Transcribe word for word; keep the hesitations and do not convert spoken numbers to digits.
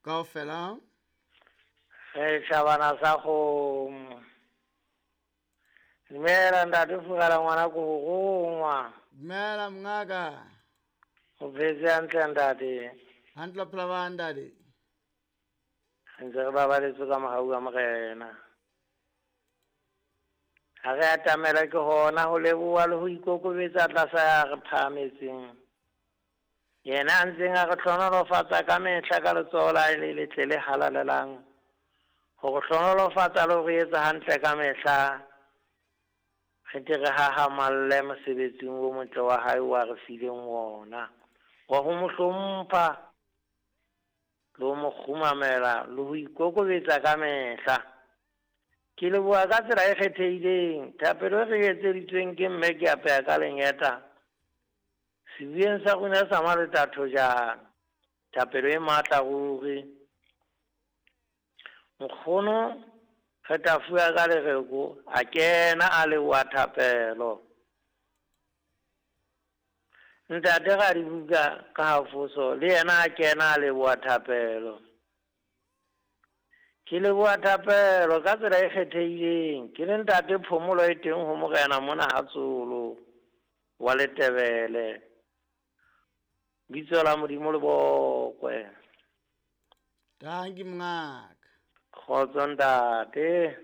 Kaofela. Re tjhabana sa kgomo. Dumela ntate Furala ngwana ko rongwa. Dumela mongaka. O phetse hantle ntate. Hantle phela ba ntate. Ntse re babaletswe ka mohau wa Morena. Ha re atamela ke hona ho leboha le ho ikokobetsa tlasa ya re phahametseng. Yena a ntseng a re hlohonolofatsa ka mehla ka letsoho la hae le letle le halalelang. Ho re hlohonolofatsa le ho re etsa hantle ka mehla. Re tle re hahamalle mosebetsing o motle wa hae wa re fileng wona. Wa ho mo hlompha le ho mo kgumamela le ho ikokobetsa ka mehla. Ke leboha ka tsela e kgethehileng thapelo e re etseditsweng ke mme ke apeha ka lengeta. Sebueng sa rona sa Maleta Thojana. Thapelo e matla ruri. Nkgono re tla fuwa ka lereko a kena a leboha thapelo. Ntate Radibuka ka hafoso le yena a kena a leboha thapelo. Ke leboha thapelo ka tsela e kgethehileng. Ke le ntate Phomolo e teng ho Morena mona ha Tsolo wa Letebele. Bitso la Modimo le bokwe. Dankie mongaka. Kgotso ntate.